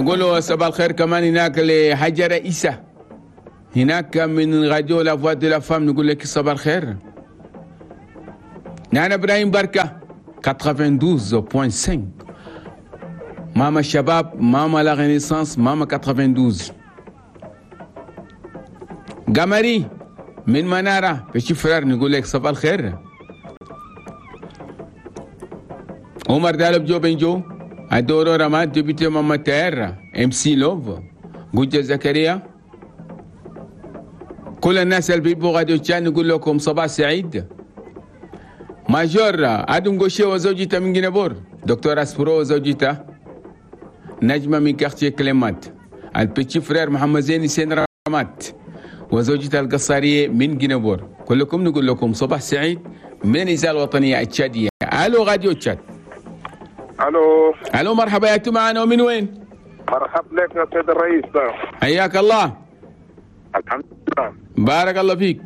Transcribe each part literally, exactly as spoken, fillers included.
نقول له صباح الخير كمان هناك لحجر إيسا هناك من راديو La Voix de la Femme، نقول لك صباح الخير. نانا ابراهيم بركة تسعة وثمانين فاصلة خمسة، ماما الشباب، ماما la Renaissance، ماما اثنين وتسعين. قمري من منارة petit frère، نقول لك صباح الخير. عمر دالب جو بنجو أدورو رماد député ماما تير MC لوف جوجة زكريا، كل الناس اللي بيبوا راديو تشاد نقول لكم صباح سعيد. major ادم غوشي وزوجته من جنبور، دكتور اسبرو وزوجته نجمة من quartier كليمات، ال petit frère محمد زين سين رمات وزوجته القصارية من جنبور، كلكم نقول لكم صباح سعيد من الإذاعة الوطنية التشادية. الو راديو تشاد. الو. الو، مرحبا، يا معنا ومن وين؟ مرحبا لك يا سيد الرئيس. حياك الله. الحمد لله. بارك الله فيك.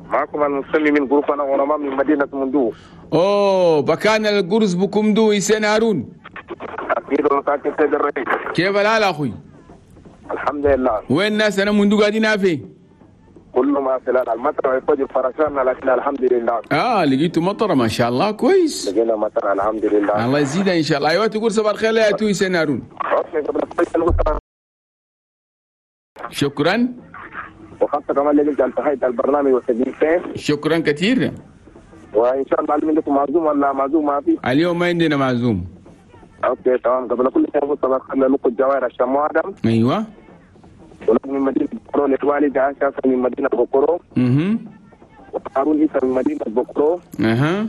معكم المسلمي من groupe انا ونما من مدينة مندو. اوه، بكان القرز بكمدو يسين هارون. اكيد ومتاكد سيد الرئيس. كيف الحال اخوي؟ الحمد لله. وين الناس انا مندو قاعدين في؟ كل ما في المطر يفوج فرشان، لكن الحمد لله. اه، لقيتوا مطره، ما شاء الله، كويس. لقينا مطر، الحمد لله. الله يزيدها ان شاء الله. ايوه، تقول صباح الخير يا تو يسين هارون. شكرا. وخاصة كمان اللي انت تحية البرنامج والتجميل. شكرا كثير. وان شاء الله عندكم معزوم ولا معزوم ما في؟ اليوم ما عندنا معزوم. okay تمام. قبل كل شيء صباح الخير لكم الجوائر الشمو ادم. ايوه. ولكم من مدينة بكرو للوالد عائشة من مدينة بكرو. اها. وهارون عيسى من مدينة بكرو. اها.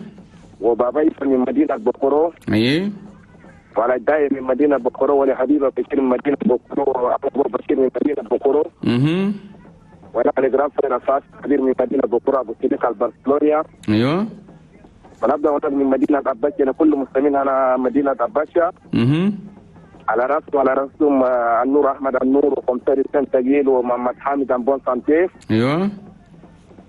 وبابا عيسى من مدينة بكرو. ايه. وعلى الداية من مدينة بكرو، ولحبيبة بشير من مدينة بكرو، وأبو بشير من مدينة بكرو. اها. وأنا الجراف فاس كبير من مدينة بكرو، أبو سيدك البرشلونيا. ايوه. ونبدأ ونبدأ من مدينة أباشا، كل المسلمين أنا مدينة أباشا. اها. على راسه وعلى راسهم النور احمد النور وقمصري سان تجيل ومحمد حامد bon santé. ايوه.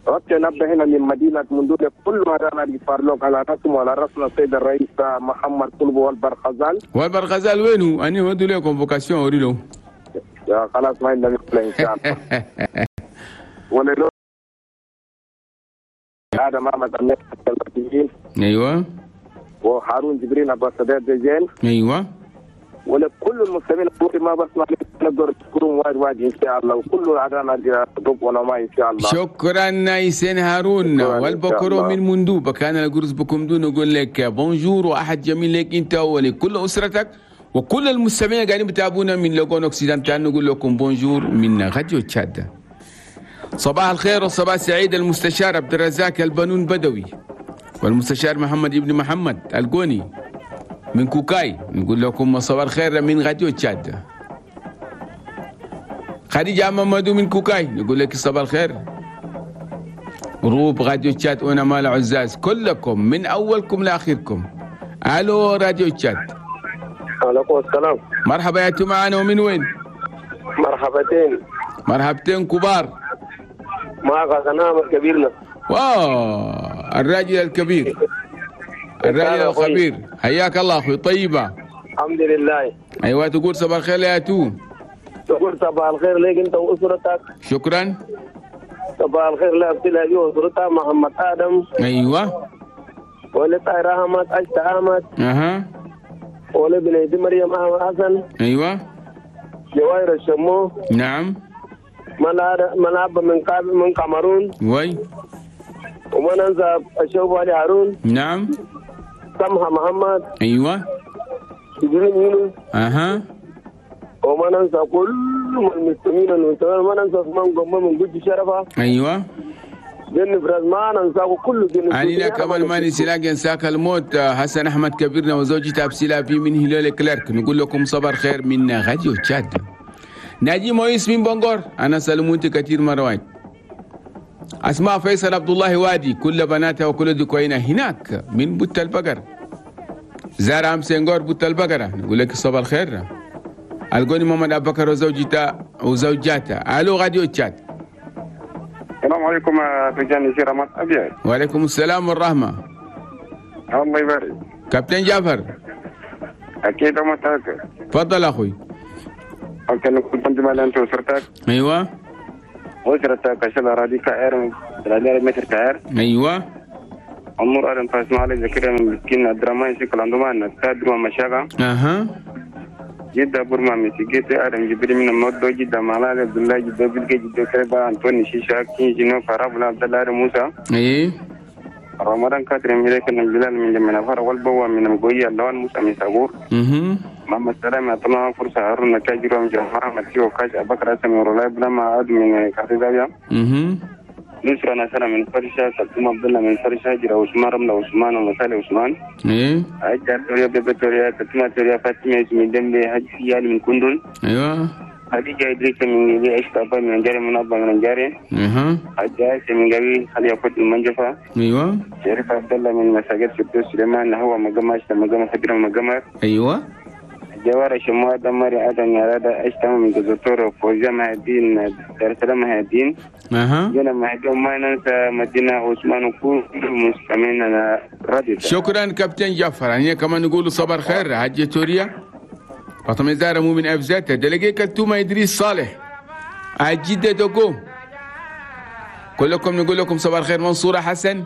okay، نبدا هنا من مدينة مندوله، كل ما رانا فارلوك على راسهم وعلى راسنا السيد الرئيس محمد طلبه والبرخزال. والبرخزال وينه؟ اني ودوا له convocation اوري. يا خلاص، ما عندنا مشكلة ان شاء الله. ولا هذا محمد امين. ايوه. وهارون جبريل ابو سداد زين. ايوه. ولكل المسلمين ما بسمع نقدر تشكرون وايد وايد ان شاء الله، وكل عدانا ضب ولا ان شاء الله. شكرا يسين هارون والبكرو من مندوب كان الجرس بكم دون. نقول لك bonjour واحد جميل لك انت ولكل اسرتك وكل المستمعين قاعدين بتابعونا من Logone Occidental، نقول لكم bonjour من راديو تشاد. صباح الخير والصباح السعيد المستشار عبد الرزاق البنون بدوي والمستشار محمد ابن محمد القوني من كوكاي، نقول لكم صباح الخير من راديو تشاد. خديجة محمدو من كوكاي، نقول لك صباح الخير. groupe راديو تشاد وانا مال عزاز كلكم من اولكم لاخركم. الو راديو تشاد. عليكم السلام. مرحبا، يا معنا ومن وين؟ مرحبتين. مرحبتين كبار. معك غنام كبيرنا. واو، الراجل الكبير، الراجل الخبير، حياك الله اخوي، طيبه. الحمد لله. ايوه، تقول صباح الخير يا تو. تقول صباح الخير لك انت واسرتك. شكرا. صباح الخير لعبد الهادي واسرتها محمد ادم. ايوه. ولطاهر احمد اشتا احمد. اها. ولبنيتي مريم احمد حسن. ايوه. جواهر الشمو. نعم. ملعب من من كاميرون. oui. وما ننسى الشوف علي هارون. نعم. سمحة محمد. ايوه. جبريل يونس. اها. وما ننسى كل المسلمين والمسلمين، ما ننسى عثمان قمة من قد شرفة. ايوه. جن فراز ما ننسى كل جن. علينا كمان ما نسيلاك ينساك الموت حسن احمد كبيرنا وزوجته ابسيلا في من هلال كلارك، نقول لكم صباح الخير من راديو تشاد. ناجي مويس من بونغور، انا سلمونتي كثير مروان. اسماء فيصل عبد الله وادي كل بناتها وكل دكوينة هناك من بوت البقر. زارع سنغور بوت البقرة، نقول لك صباح الخير. القوني محمد ابو بكر وزوجته وزوجاته. الو راديو تشاد. السلام عليكم رجال نسير رمضان ابيض. وعليكم السلام والرحمة. الله يبارك. كابتن جعفر. اكيد متأكد. تفضل اخوي. أوكي كنت مال أنت وسرتك. أيوة. وسرتك عشان أراضي كعير الأراضي متر كعير. أيوة. عمر أرن فاسمع علي زكريا من مسكين الدراما يسكل عندما نتادر ومشاغا. أها. جدا برما مسكيت أرن جبري من الموضوع جدا مالال عبد الله جدا بلك جدا كربا أنتوني شيشا كين جنو فرابلا عبد الله موسى. إيه. رمضان كاتر ملك الجلال من جمنا فر والبوا من مقوية اللون موسى من سابور. أها. محمد سلام أعطنا فرصة هارون كاجر ومجمع متيو كاج أبكر أسمي ورولاي بلا ما عاد من كاتدابيا. أها. نصر أنا من فرشة سلطان عبد الله من فرشة جرا عثمان رملة عثمان ومسالي عثمان. إيه. أجا توريا بيبتوريا كتما توريا فاطمة من دمبي هجيال من كندل. أيوة. خديجة إدريس من جبي عشت أبا من جاري من أبا من جاري. أها. أجا من جبي خلي أفوت من جفا. أيوة. شريف عبد الله من مساجد سبتو سليمان هو مجمع مجمع فكرة مجمع. أيوة. جوار شموع دمري آدم يا أشتم من جزتور فوزيا مهدين دار السلام مهدين. أها. جنا مهدين ما ننسى مدينة عثمان وكل مستمعين راديو. شكرا كابتن جعفر. يعني كمان نقول صبر خير حاجة توريا. فاطمة زهرة مو من أفزاتها دلقي كلتومة إدريس صالح عجيدة دوكو. كلكم نقول لكم صباح الخير. منصورة حسن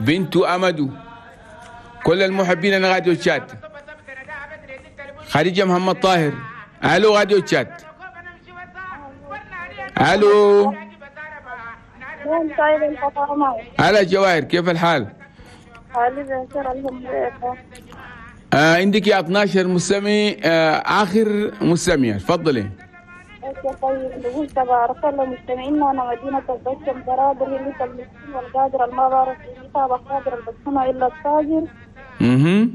بنت أمدو كل المحبين أنا راديو تشاد. خديجة محمد طاهر ألو راديو تشاد. ألو هلا جواهر كيف الحال؟ آه عندك يا اثناشر مستمع. آه آخر مستمع تفضلي. طيب نقول تبارك الله مستمعينا أنا مدينة البشم برادر اللي المسكين والقادر المبارك اللي تابع قادر البسمة إلا التاجر. اها.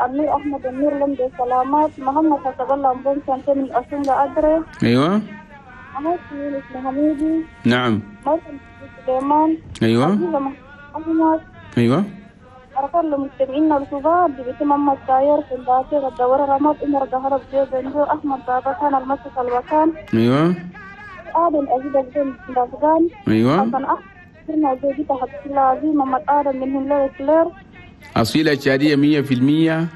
النور أحمد النور لمدي سلامات محمد حسب الله مبون سنتين من أسون لأدري. أيوة. أنا يونس محمودي. نعم. مريم سليمان. أيوة. أحمد. أيوة. أرسل لمستمعينا الكبار ببيت محمد ساير في الباكر الدورة رماد عمر ظهر بجيب أحمد بابا كان المسك الوكان. أيوة. آدم أزيد بن دافغان. أيوة. حسن أحمد زوجته حبيب الله عزيز محمد آدم من هلا كلير. أصيلة شادية مية في المية.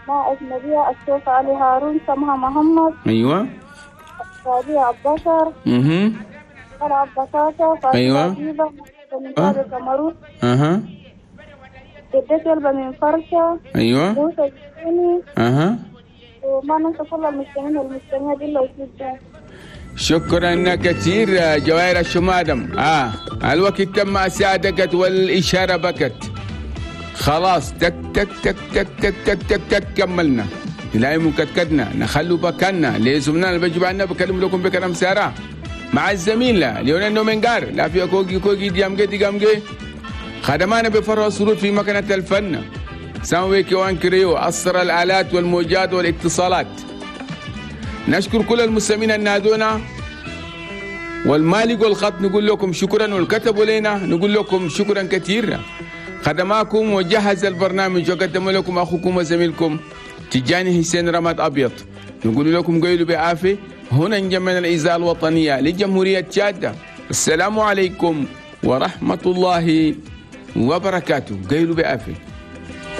ما أجنبية الشيخ علي هارون سمها محمد. أيوة. شادية عبد بكر. اها. عبد بكر. أيوة. أه. أها. جدتي من فرشة. أيوة. موسى الجيني. أها. وما ننسى كل المستمعين والمستمعات اللي وجودنا. شكرا كثير جواهر الشمادم. آه الوقت تم ساعدك والإشارة بكت. خلاص تك تك تك تك تك تك تك تك كملنا. لا مكتكتنا نخلو بكنا لزمنا اللي بيجوا عنا بكلم لكم بكلام سارة مع الزميل ليونيل نومنجار لا في كوكي كوكي ديامجي ديامجي خدمانا بفرع السرور في مكنة الفن ساموي كيوان كريو أسر الآلات والموجات والاتصالات. نشكر كل المستمعين النادونا والمالك والخط نقول لكم شكرا، والكتبوا لنا نقول لكم شكرا كثير. خدماكم وجهز البرنامج وقدم لكم أخوكم وزميلكم تجاني حسين رماد أبيض. نقول لكم قيلوا بعافية. هنا نجمعنا الإذاعة الوطنية لجمهورية تشاد. السلام عليكم ورحمة الله وبركاته. قيلوا بعافية.